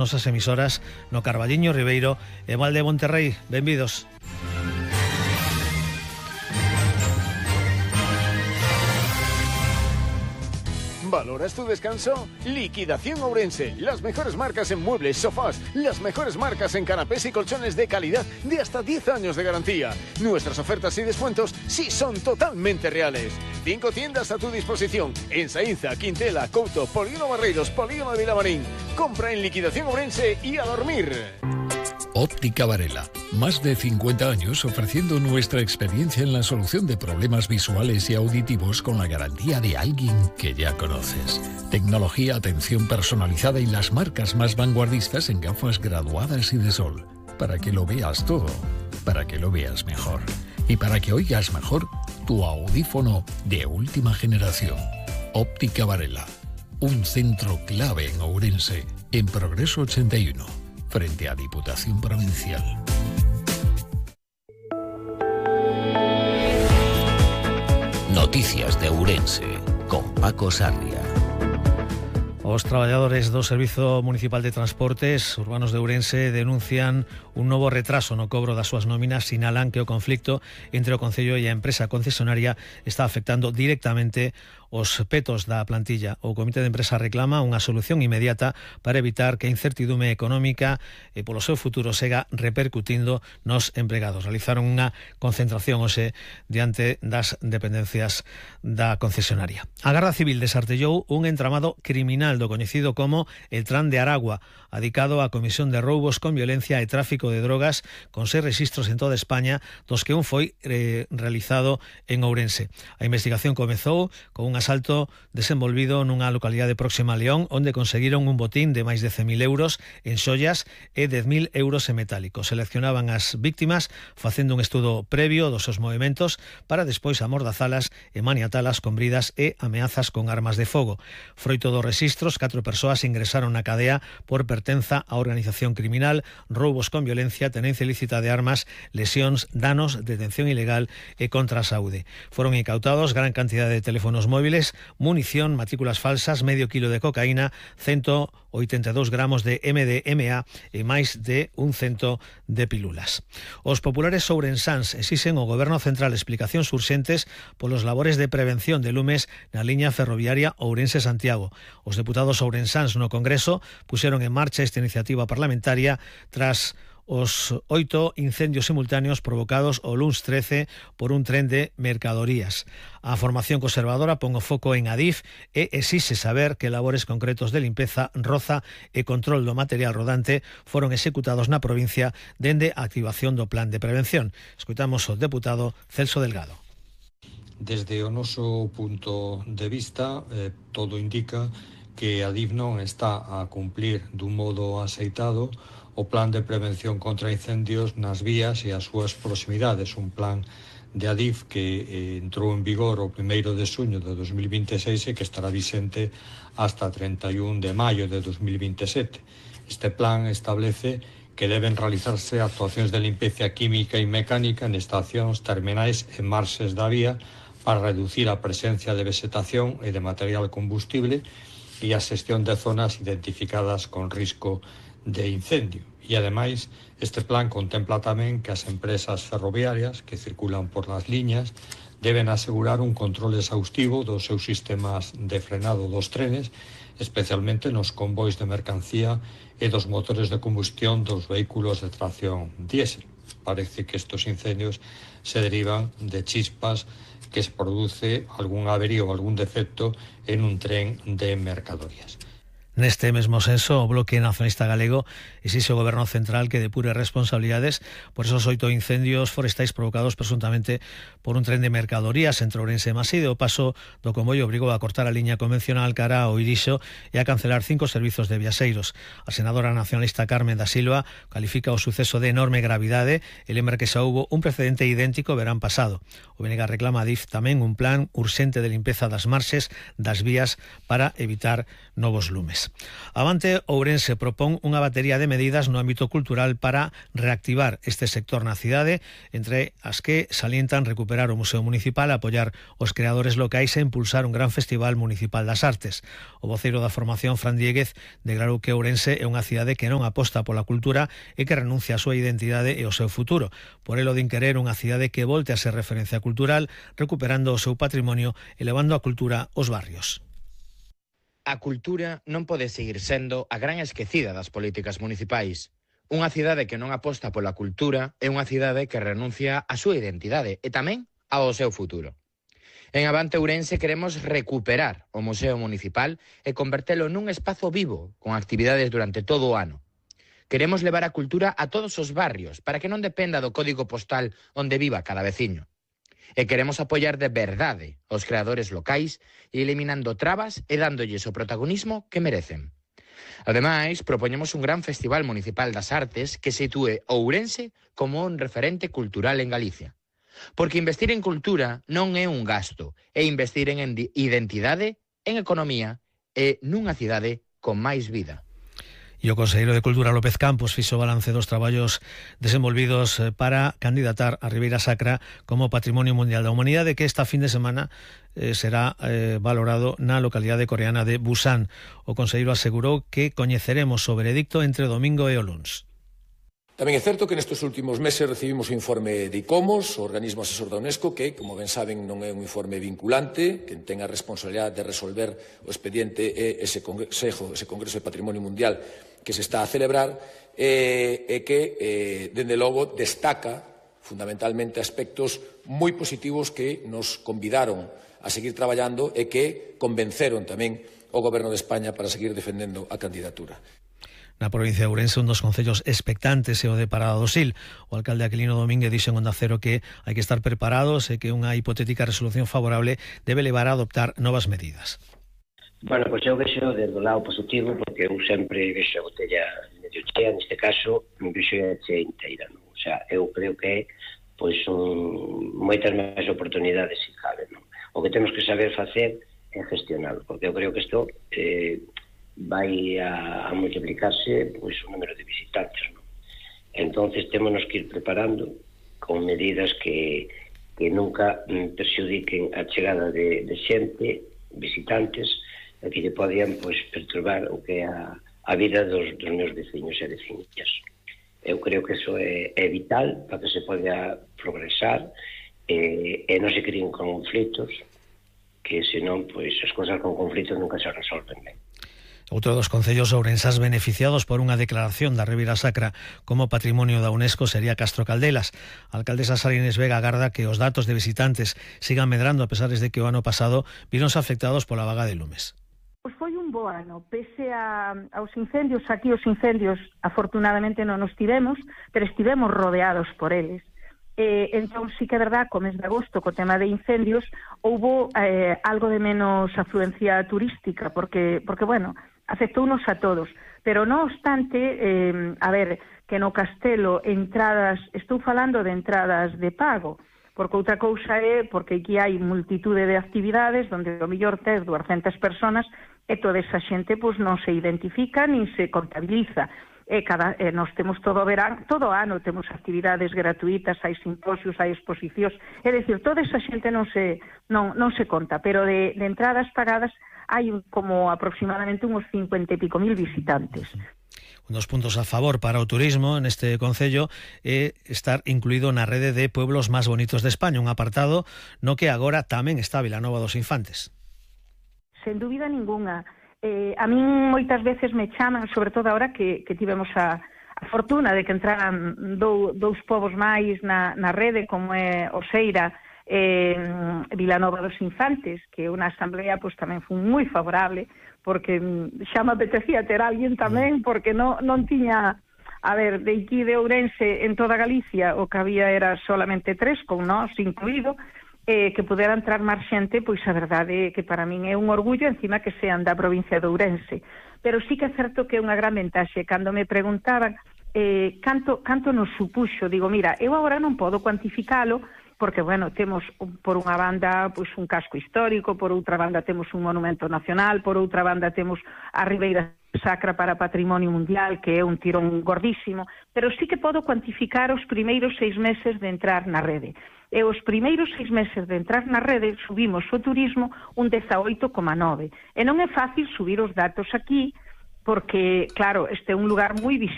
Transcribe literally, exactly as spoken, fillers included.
nosas emisoras no Carballiño, Ribeiro e Val de Monterrey. Benvidos. ¿Valoras tu descanso? Liquidación Ourense. Las mejores marcas en muebles, sofás, las mejores marcas en canapés y colchones de calidad de hasta diez años de garantía. Nuestras ofertas y descuentos sí son totalmente reales. Cinco tiendas a tu disposición. En Saínza, Quintela, Couto, Polígono Barreiros, Polígono de Vilamarín. Compra en Liquidación Ourense y a dormir. Óptica Varela. Más de cincuenta años ofreciendo nuestra experiencia en la solución de problemas visuales y auditivos con la garantía de alguien que ya conoces. Tecnología, atención personalizada y las marcas más vanguardistas en gafas graduadas y de sol. Para que lo veas todo, para que lo veas mejor. Y para que oigas mejor tu audífono de última generación. Óptica Varela. Un centro clave en Ourense, en Progreso ochenta y uno. Frente a Diputación Provincial. Noticias de Ourense, con Paco Sarria. Os traballadores do Servizo Municipal de Transportes Urbanos de Ourense denuncian un novo retraso no cobro das súas nóminas. Sinalan que o conflicto entre o Concello e a empresa concesionaria está afectando directamente os petos da plantilla. O Comité de Empresa reclama unha solución inmediata para evitar que a incertidume económica e polo seu futuro sega repercutindo nos empregados. Realizaron unha concentración hoxe diante das dependencias da concesionaria. A Garda Civil desartellou un entramado criminal do coñecido como el Tran de Aragua, adicado á comisión de roubos con violencia e tráfico de drogas, con seis registros en toda España, dos que un foi eh, realizado en Ourense. A investigación comezou con un asalto desenvolvido nunha localidade próxima a León, onde conseguiron un botín de máis de cen mil euros en xollas e dez mil euros en metálicos. Seleccionaban as víctimas facendo un estudo previo dos seus movimentos para despois amordazalas e maniatalas con bridas e ameazas con armas de fogo. Froito dos registros, catro persoas ingresaron na cadea por pertenza á organización criminal, roubos con violencia, tenencia ilícita de armas, lesións, danos, detención ilegal e contra a saúde. Foron incautados gran cantidade de teléfonos móviles, munición, matrículas falsas, medio kilo de cocaína, ciento oitenta e dous gramos de M D M A e máis de un cento de pilulas. Os populares ourensáns exixen ao Goberno Central explicacións urxentes polos labores de prevención de lumes na liña ferroviaria Ourense-Santiago. Os deputados ourensáns no Congreso puxeron en marcha esta iniciativa parlamentaria tras os oito incendios simultáneos provocados o luns trece por un tren de mercadorías. A formación conservadora pon o foco en Adif e exixe saber que labores concretos de limpeza, roza e control do material rodante foron executados na provincia dende a activación do plan de prevención. Escoitamos o deputado Celso Delgado. Desde o noso punto de vista, eh, todo indica que Adif non está a cumplir dun modo aceitado o plan de prevención contra incendios nas vías e as súas proximidades, un plan de Adif que eh, entrou en vigor o primeiro de xuño de dos mil vinte e seis e que estará vixente hasta trinta e un de maio de dos mil vinte e sete. Este plan establece que deben realizarse actuacións de limpeza química e mecánica en estacións, terminais e marxes da vía para reducir a presencia de vegetación e de material combustible e a xestión de zonas identificadas con risco de incendio. E, ademais, este plan contempla tamén que as empresas ferroviarias que circulan por las liñas deben asegurar un control exhaustivo dos seus sistemas de frenado dos trenes, especialmente nos convois de mercancía e dos motores de combustión dos vehículos de tracción diésel. Parece que estos incendios se derivan de chispas que se produce algún averío ou algún defecto en un tren de mercadorías. Neste mesmo senso, o Bloque Nacionalista Galego exixe ao Goberno Central que depure responsabilidades por esos oito incendios forestais provocados presuntamente por un tren de mercadorías entre Ourense e Maside. O paso do convoio obrigou a cortar a liña convencional cara ao Irixo e a cancelar cinco servizos de viaxeiros. A senadora nacionalista Carmen da Silva califica o suceso de enorme gravidade e lembra que xa houbo un precedente idéntico verán pasado. O B N G reclama a D I F tamén un plan urxente de limpeza das marxes das vías para evitar novos lumes. culturales. Avante Ourense propón unha batería de medidas no ámbito cultural para reactivar este sector na cidade, entre as que salientan recuperar o Museo Municipal, apoiar os creadores locais e impulsar un gran festival municipal das artes. O voceiro da formación, Fran Diéguez, declarou que Ourense é unha cidade que non aposta pola cultura e que renuncia a súa identidade e ao seu futuro. Por elo din querer unha cidade que volte a ser referencia cultural, recuperando o seu patrimonio e levando a cultura aos barrios. A cultura non pode seguir sendo a gran esquecida das políticas municipais. Unha cidade que non aposta pola cultura é unha cidade que renuncia á súa identidade e tamén ao seu futuro. En Avante Ourense queremos recuperar o Museo Municipal e convertelo nun espazo vivo con actividades durante todo o ano. Queremos levar a cultura a todos os barrios para que non dependa do código postal onde viva cada veciño. E queremos apoiar de verdade os creadores locais e eliminando trabas e dándolles o protagonismo que merecen. Ademais, propoñemos un gran festival municipal das artes que sitúe Ourense como un referente cultural en Galicia. Porque investir en cultura non é un gasto, é investir en identidade, en economía e nunha cidade con máis vida. E o conselleiro de Cultura, López Campos, fixo balance dos traballos desenvolvidos para candidatar a Ribeira Sacra como Patrimonio Mundial da Humanidade, que esta fin de semana eh, será eh, valorado na localidade coreana de Busan. O conselleiro asegurou que coñeceremos o veredicto entre o domingo e o luns. Tamén é certo que nestes últimos meses recibimos o informe de ICOMOS, o organismo asesor da UNESCO, que, como ben saben, non é un informe vinculante, que ten a responsabilidade de resolver o expediente e ese Consejo, ese Congreso de Patrimonio Mundial que se está a celebrar, e, e que, eh, dende logo, destaca fundamentalmente aspectos moi positivos que nos convidaron a seguir traballando e que convenceron tamén o Goberno de España para seguir defendendo a candidatura. Na provincia de Ourense, un dos concellos expectantes é o de Parada do Sil. O alcalde Aquilino Domínguez dixo en Onda Cero que hai que estar preparados e que unha hipotética resolución favorable debe levar a adoptar novas medidas. Bueno, pois eu vexo desde o lado positivo, porque eu sempre vexo a botella medio chea, neste caso, vexo a chea inteira, non? O sea, eu creo que pois son moitas máis oportunidades se cabe, non? O que temos que saber facer é gestionar, porque eu creo que isto eh, vai a, a multiplicarse pois o número de visitantes, non? Entonces témonos que ir preparando con medidas que, que nunca perxudiquen a chegada de, de xente, visitantes, e que lle podían pois perturbar o que é a, a vida dos, dos meus veciños e veciñas. Eu creo que eso é, é vital para que se poda progresar e, e non se creen conflitos, que senón pois as cousas con conflitos nunca se resolven ben. Outro dos concellos ourensás beneficiados por unha declaración da Ribeira Sacra como Patrimonio da UNESCO sería Castro Caldelas. A alcaldesa Sara Inés Vega agarda que os datos de visitantes sigan medrando a pesar de que o ano pasado víronse afectados pola vaga de lumes. Pois foi un bo ano, pese a, aos incendios, aquí os incendios afortunadamente non nos tivemos, pero estivemos rodeados por eles. Eh, entón, sí que é verdad, co mes de agosto, co tema de incendios, houbo eh, algo de menos afluencia turística, porque, porque bueno, afectounos a todos. Pero, non obstante, eh, a ver, que no Castelo entradas, estou falando de entradas de pago, porque outra cousa é porque aquí hai multitude de actividades onde o mellor tes duascentas personas e toda esa xente pois non se identifica nin se contabiliza. E cada, e nos temos todo o verán, todo o ano temos actividades gratuitas, hai simposios, hai exposicións, é dicir, toda esa xente non se, non, non se conta, pero de, de entradas pagadas hai como aproximadamente uns cincuenta e pico mil visitantes. Un dos puntos a favor para o turismo neste concello é estar incluído na rede de pueblos máis bonitos de España, un apartado no que agora tamén está Vilanova dos Infantes. Sen dúbida ningunha. Eh, a min moitas veces me chaman, sobre todo agora que, que tivemos a, a fortuna de que entraran dou, dous povos máis na, na rede, como é Oseira e eh, Vilanova dos Infantes, que unha asamblea pois, tamén foi moi favorable, porque xa me apetecía ter alguén tamén, porque non, non tiña, a ver, de aquí de Ourense en toda Galicia o que había era solamente tres, con nós incluído, eh, que pudera entrar máis xente, pois a verdade é que para min é un orgullo encima que sean da provincia de Ourense. Pero sí que é certo que é unha gran ventaxe. Cando me preguntaban eh, canto, canto nos supuxo, digo, mira, eu agora non podo cuantificalo porque, bueno, temos por unha banda pois un casco histórico, por outra banda temos un monumento nacional, por outra banda temos a Ribeira Sacra para Patrimonio Mundial, que é un tirón gordísimo, pero sí que podo cuantificar os primeiros seis meses de entrar na rede. E os primeiros seis meses de entrar na rede subimos o turismo un dezaoito coma nove. E non é fácil subir os datos aquí, porque, claro, este é un lugar moi visitado.